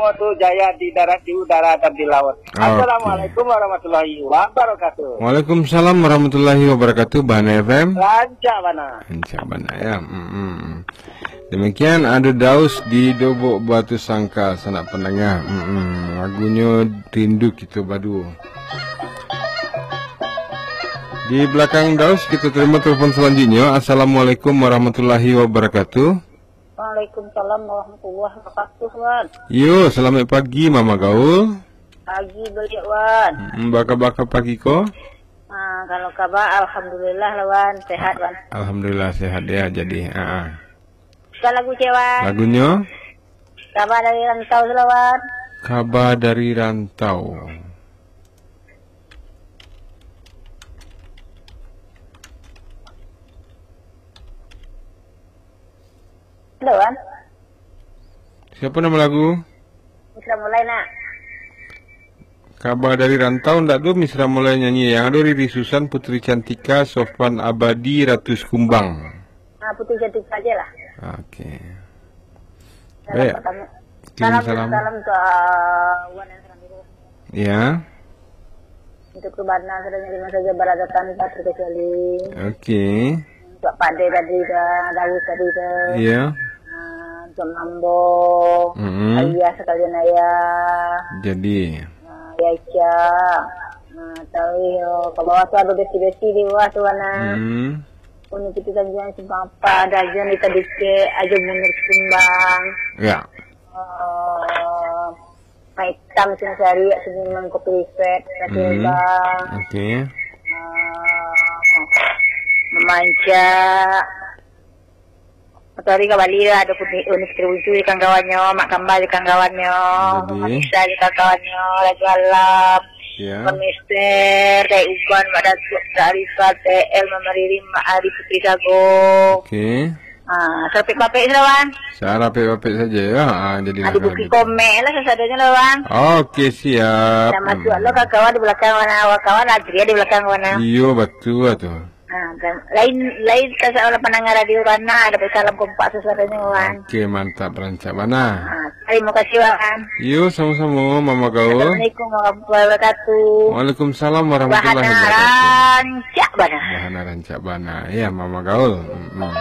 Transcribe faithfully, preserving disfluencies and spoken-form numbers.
Semua tu jaya di darat, di udara, dan di laut. Oke. Assalamualaikum warahmatullahi wabarakatuh. Waalaikumsalam warahmatullahi wabarakatuh, Bahana F M. Rancak bana. Rancak bana, ya. Mm-mm. Demikian ado Daus di Dobok Batu Sangka, sanak pandanga. Mm-mm. Lagunyo Rindu Kito Baduo. Di belakang Daus, kita terima telepon selanjutnya. Assalamualaikum warahmatullahi wabarakatuh. Waalaikumsalam warahmatullahi wabarakatuh, Wan. Yo, selamat pagi, Mama Gaul. Pagi baliak, Wan. Mm, baka-baka pagi ko? Ah, kalau kaba, alhamdulillah lah, Wan. Sehat, Wan. Alhamdulillah, sehat ya, jadi. Ah, ah. Suka lagu cek, Wan. Lagunyo? Kaba dari Rantau, Wan. Kaba dari Rantau. Halo, Wan. Siapa nama lagu? Misra Mulai, nak. Kaba dari Rantau ndak ado Misra Mulai nyanyi. Yang ado Riri Susan, Putri Cantika, Sofan Abadi, Ratu Sekumbang. Ah, Putri Cantika aja lah. Oke. Salam. Baik. Pertama. Kirim salam, salam. Salam ke, ah, Wan yang selalu. Ya. Untuk Rebana, saudara di mana saja berada tanpa terkecuali. Oke. Untuk Pak De tadi dah, Dawud tadi dah. Iya. Ah, untuk Mambo, Mm-mm. Ayah sekalian ayah. Jadi. Ah, ya, Ica. Ah, tahu yo, ke bawah tu ada besi-besi di bawah tu, Wana. Hmm. Uni Putih Tanjuang Simpang Apa, ada Ajon di Tadike, Ajo Munir Kumbang. Ya. Ah, Maitam Sinsari, Sudirman Kopi Reset, Ratu Hmm. Bang. Oke. Ah, Mamanca. Satu hari ka Bali lah, ada Putri, Uni Putri Bucu di kawan-kawannyo, Mak Kambal di kawan-kawannyo, Jadi. Mama Nisa di kawan-kawannyo, Raja Alam, Ya. Mak Mister, Dai Uban, Mak Datuk, Mak Arifah, T L, Mama Ririn, Mak Ari, Putri Sago. Oke. Ah, sarapek-papek sudah, Wan. Sarapek-papek saja, ya. Ah, jadi Ah, lah di kalau Bukik gitu. Komek lah sasadonyo lah, Wan. Oke, siap. Dah masuk Hmm. lo ka kawan di belakang, Wan. Awak kawan Adria di belakang, Wan. Iyo, batua tu. Ah, dan lain, lain tasalah pandanga radio, Wan. Nah, dapat salam kompak sasadonyo, Wan. Oke, mantap, rancak bana. Ah, terima kasih, Wan. Iyo, sama-sama, Mama Gaul. Assalamualaikum warahmatullahi wabarakatuh. Waalaikumsalam warahmatullahi Bahana wabarakatuh. Rancak bana. Bahana rancak bana. Ya, Mama Gaul. Mm-mm.